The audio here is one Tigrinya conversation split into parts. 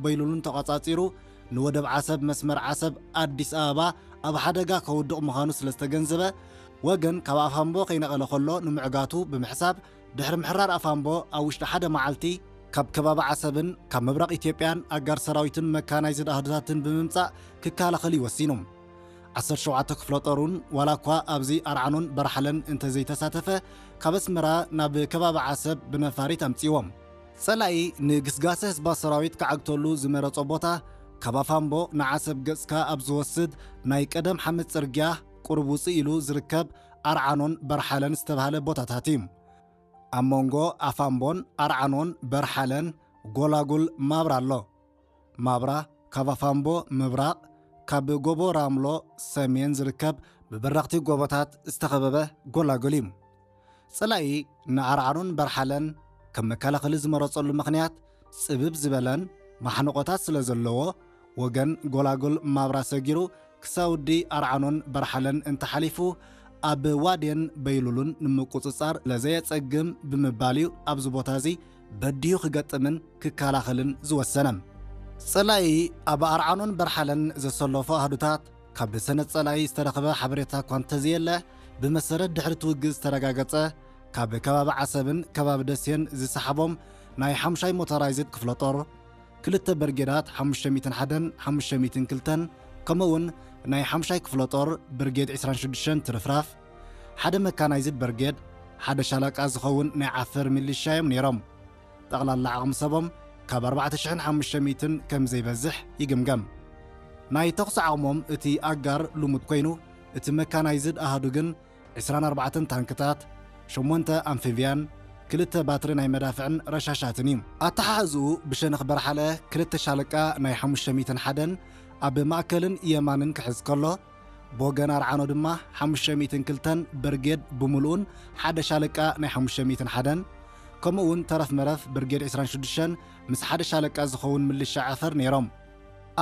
በይሉሉን ተቋጻጺሩ ንወደብ ዓሰብ መስመር ዓሰብ ኣዲስ ኣበባ ኣብ ሓደጋ ከውድቕ ምዃኑ ስለ ዝተገንዘበ፣ ወገን ካብ ኣፋምቦ ከይነቐለ ከሎ ንምዕጋቱ ብምሕሳብ፣ ድሕሪ ምሕራር ኣፋምቦ ኣብ ውሽጢ ሓደ መዓልቲ ካብ ከባቢ ዓሰብን ካብ ምብራቕ ኢትዮጵያን ኣጋር ሰራዊትን መካናይዝድ ኣሃዱታትን ብምምጻእ ክከላኸል እዩ ወሲኑ። ዓሰርተ ሸውዓተ ክፍለ ጦር እውን ዋላ እኳ ኣብዚ ኣርዓኖን በርሓለን እንተዘይተሳተፈ፣ ካብ ኣስመራ ናብ ከባቢ ዓሰብ ብነፋሪት ኣምጺዎም። ጸላኢ ንግስጋሰ ህዝባዊ ሰራዊት ክዓግተሉ ዝመረጾ ቦታ፣ ካብ ኣፋምቦ ንዓሰብ ገጽካ ኣብ ዝወስድ ናይ ቀደም ሓመድ ጽርግያ ቁሩብ ውጽእ ኢሉ ዝርከብ ኣርዓኖን በርሓለን ዝተባህለ ቦታታት እዩ። ኣብ መንጎ ኣፋምቦን ኣርዓኖን በርሓለን ጎላጉል ማብራ ኣሎ። ማብራ ካብ ኣፋምቦ ምብራቕ፣ ካብ ጎቦ ራምሎ ሰሜን ዝርከብ ብበረኽቲ ጎቦታት ዝተኸበበ ጎላጉል እዩ። ጸላኢ ንኣርዓኖን በርሓለን ከም መከላኸሊ ዝመረጸሉ ምኽንያት፣ ጽብብ ዝበለን ማሕንቖታት ስለ ዘለዎ፣ ወገን ጎላጉል ማብራ ሰጊሩ ክሳውዲ ኣርዓኖን በርሓለን እንተሓሊፉ፣ ኣብ ዋዴን በይሉሉን ንምቁጽጻር ለዘየጸግም ብምባል እዩ ኣብዚ ቦታ እዚ በዲሁ ክገጥምን ክከላኸልን ዝወሰነ። ጸላኢ ኣብ ኣርዓኖን በርሓለን ዘሰለፎ ኣሃዱታት ካብ ሰነድ ጸላኢ ዝተረኸበ ሓበሬታ እኳ እንተዘየለ፣ ብመሰረት ድሕሪ እቲ ውግእ ዝተረጋገጸ ካብ ከባቢ ዓሰብን ከባቢ ደሴን ዝሰሓቦም ናይ ሓምሻይ ሞተራይዝድ ክፍለ ጦር፣ ክልተ በርጌዳት ሓሙሽተ ሚእትን ሓደን ሓሙሽተ ሚእትን ክልተን፣ ከምኡውን ናይ ሓምሻይ ክፍለ ጦር ብርጌድ ዕስራን ሽዱሽተን ትርፍራፍ፣ ሓደ መካናይዝድ በርጌድ፣ ሓደ ሻለቃ ዝኸውን ናይ ዓፈር ሚሊሻ እዮም ነይሮም። ጠቕላላ ዓቕሚ ሰቦም ካብ ኣርባዕተ ሽሕን ሓሙሽተ ሚእትን ከም ዘይበዝሕ ይግምገም። ናይ ተኹሲ ዓቕሞም እቲ ኣጋር ልሙድ ኮይኑ፣ እቲ መካናይዝድ ኣሃዱ ግን ዕስራን ኣርባዕተን ታንክታት፣ ሸሞንተ ኣምፊብያን፣ ክልተ ባትሪ ናይ መዳፍዕን ረሻሻትን እዩ። ኣተሓሕዝኡ ብሸነኽ በርሓለ ክልተ ሻለቃ ናይ ሓሙሽተ ሚእትን ሓደን ኣብ ማእከልን የማንን ክሕዝ ከሎ፣ ብወገን ኣርዓኖ ድማ ሓሙሽተ ሚእትን ክልተን በርጌድ ብምሉኡን ሓደ ሻለቃ ናይ ሓሙሽተ ሚእትን ሓደን፣ ከምኡ እውን ተረፍ መረፍ ብርጌድ ዕስራን ሽዱሽተን ምስ ሓደ ሻለቃ ዝኸውን ምልሻ ዓፈር ነይሮም።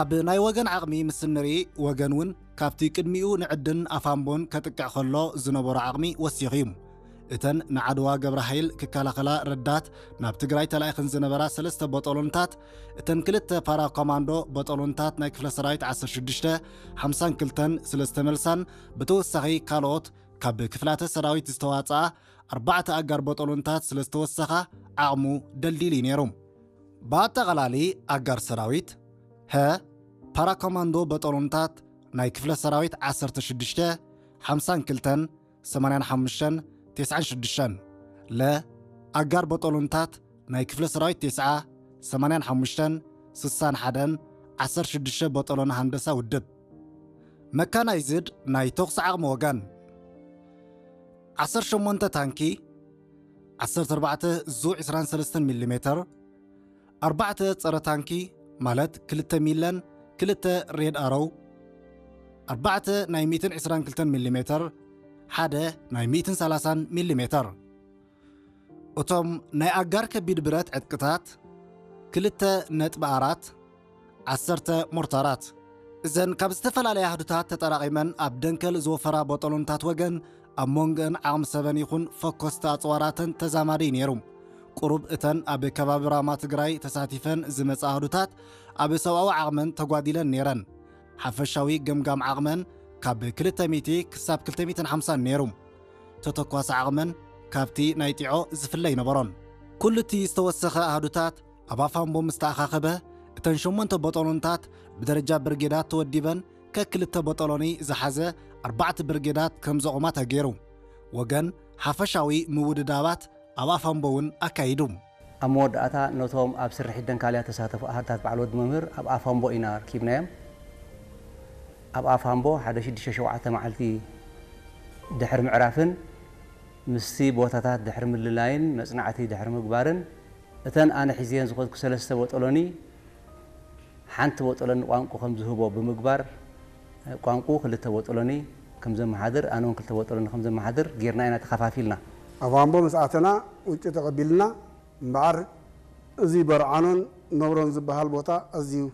ኣብ ናይ ወገን ዓቕሚ ምስ እንርኢ፣ ወገን እውን ካብቲ ቅድሚኡ ንዕድን ኣፋምቦን ከጥቅዕ ከሎ ዝነበሮ ዓቕሚ ወሲኹ እዩ። እተን ንዓድዋ ገብረ ሃይል ክከላኸላ ረዳት ናብ ትግራይ ተላኢኸን ዝነበራ ሰለስተ ቦጦሎንታት፣ እተን ክልተ ፓራ ኮማንዶ ቦጦሎንታት ናይ ክፍለ ሰራዊት ዓሰርተ ሽዱሽተ ሓምሳን ክልተን ስለ ዝተመልሳን፣ ብተወሳኺ ካልኦት ካብ ክፍላተ ሰራዊት ዝተዋፅኣ ኣርባዕተ ኣጋር ቦጦሎንታት ስለ ዝተወሰኻ፣ ዓቕሙ ደልዲል እዩ ነይሩ። ብኣጠቓላሊ ኣጋር ሰራዊት፣ ሀ፣ ፓራኮማንዶ በጠሎንታት ናይ ክፍለ ሰራዊት ዓሰርተ ሽዱሽተ፣ ሓምሳን ክልተን፣ ሰማንያን ሓሙሽተን፣ ተስዓን ሽዱሽተን፣ ለ፣ ኣጋር በጠሎንታት ናይ ክፍለ ሰራዊት ተስዓ፣ ሰማንያን ሓሙሽተን፣ ስሳን ሓደን፣ ዓሰርተ ሽዱሽተ በጠሎን ሃንደሳ ውድብ። መካናይዝድ ናይ ተኹሲ ዓቕሚ ወገን፣ ዓሰርተ ሸሞንተ ታንኪ፣ ዓሰርተ ኣርባዕተ ዙ ዕስራን ሰለስተን ሚሊ ሜተር፣ ኣርባዕተ ጸረ ታንኪ ማለት ክልተ ሚለን ክልተ ሬድ ኣሮው፣ ኣርባዕተ ናይ ሚእትን ዕስራን ክልተን ሚሊ ሜተር፣ ሓደ ናይ ሚእትን ሰላሳን ሚሊ ሜተር። እቶም ናይ ኣጋር ከቢድ ብረት ዕጥቅታት ክልተ ነጥቢ ኣራት ዓሰርተ ሞርታራት። እዘን ካብ ዝተፈላለያ ኣህዱታት ተጠራቒመን ኣብ ደንከል ዝወፈራ ቦጦሎንታት ወገን፣ ኣብ መንጎአን ዓቕሚ ሰበን ይኹን ፈኮስቲ ኣጽዋራተን ተዛማዲ ነይሩ። ቁሩብ እተን ኣብ ከባቢ ራማ ትግራይ ተሳቲፈን ዝመጻ ኣህዱታት ኣብ ሰብኣዊ ዓቕመን ተጓዲለን ነይረን። ሓፈሻዊ ገምጋም ዓቕመን ካብ ክልተ ሚእቲ ክሳብ ክልተ ሚእትን ሓምሳን ነይሩ። ተተኳሲ ዓቕመን ካብቲ ናይ ጢዖ ዝፍለ ኣይነበሮን። ኩሉ እቲ ዝተወሰኸ ኣሃዱታት ኣብ ኣፋምቦ ምስ ተኣኻኸበ፣ እተን ሸሞንተ ቦጦሎንታት ብደረጃ ብርጌዳት ተወዲበን፣ ከክልተ ቦጦሎኒ ዝሓዘ ኣርባዕተ ብርጌዳት ከም ዘቑማ ተገይሩ። ወገን ሓፈሻዊ ምውድዳባት ኣብ ኣፋምቦ እውን ኣካይዱ። ኣብ መወዳእታ፣ ነቶም ኣብ ስርሒት ደንካልያ ተሳተፉ ኣሃዱታት በዓል ወዲ መምህር ኣብ ኣፋምቦ ኢና ኣርኪብናዮም። ኣብ ኣፋምቦ ሓደ ሽዱሽተ ሸውዓተ መዓልቲ ድሕሪ ምዕራፍን ምስቲ ቦታታት ድሕሪ ምልላይን መጽናዕቲ ድሕሪ ምግባርን፣ እተን ኣነ ሒዘየን ዝኸድኩ ሰለስተ ቦጦሎኒ ሓንቲ ቦጦሎኒ ቋንቁ ከም ዝህቦ ብምግባር፣ ቋንቁ ክልተ ቦጦሎኒ ከም ዘመሓድር፣ ኣነ እውን ክልተ ቦጦሎኒ ከም ዘመሓድር ጌርና ኢና ተኸፋፊልና። ኣፋምቦ ምስ ኣተና ውጩ ተቐቢልና። እምበኣር፣ እዚ በርዓኖን ነብሮን ዝበሃል ቦታ ኣዝዩ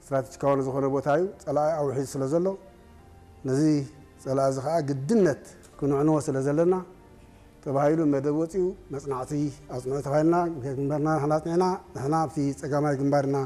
ስትራቴጂካዊ ዝኾነ ቦታ እዩ። ጸላኢ ኣውሒዱ ስለ ዘሎ፣ ነዚ ጸላኢ እዚ ኸኣ ግድነት ክንዕንዎ ስለ ዘለና ተባሂሉ መደብ ወጺኡ፣ መጽናዕቲ ኣጽንዑ ተባሂልና፣ ግንባርና ንሕና ኣጽኒዕና፣ ንሕና ኣብቲ ጸጋማይ ግንባር ኢና